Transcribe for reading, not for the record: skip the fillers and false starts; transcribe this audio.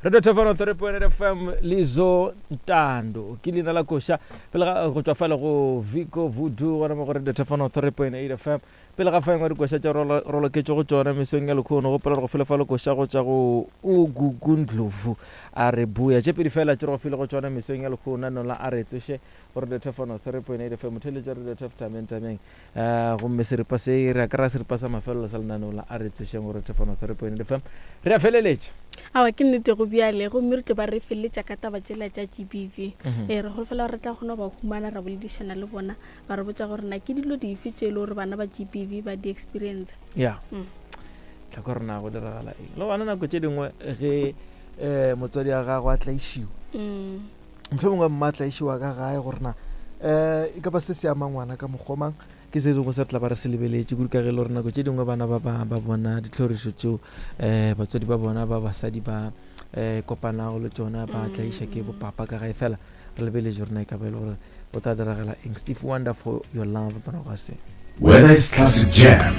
Radio Thefano 3.8 FM Lizo Ntando ke leina la koša pele ga go tšwa fale go Vico Voodoo gona mo go Radio Thefano 3.8 FM pele ga fa engwe dikoša tša roloketšwe go tšona mesong ya lekhono gopola gore go fele fa le koša go tša go Ugugu Ndlovu a re buya tše pedi fela tše re go file go tšona mesong ya lekhono nola a re tsoše go Radio Thefano 3.8 FM theletša Radio Thef tameng tameng Eh, gomme seripa se re kry-a seripa sa mafelelo sa lenaneo la a re tsošeng gore thefano 3.8 fm re a feleletša. Awa ke nnete go bjale, gomme re tlo ba re feleletša ka taba tšela tša GBV. Ee, re holofela gore re tla kgona go ba humana ra boledišana le bona, ba re botša gore na ke dilo dife tše e le gore bana ba GBV ba di experience. Ya tla kwa gore na go diragala eng le gona nako tše dingwe ge um motswadi wa gago a tlaišiwa, mohlomongwe mma a tlaišiwa ka gae, gore na um e ka ba se se ama ngwana ka mokgwa mang, ke se sengwe se re tla ba re se lebeletše kudu ka ge e le gore nako tše dingwe bana ba ba ba bona ditlhorišo tšeo um batswadi ba bona ba basadi ba um kopanago le tšona, ba tlaiša ke bopapa ka gae. Fela re lebeletše gore na e ka ba e le gore go tla diragala eng. Steve Wonder, For Your Love, morago ga se. Whether it's classic jam,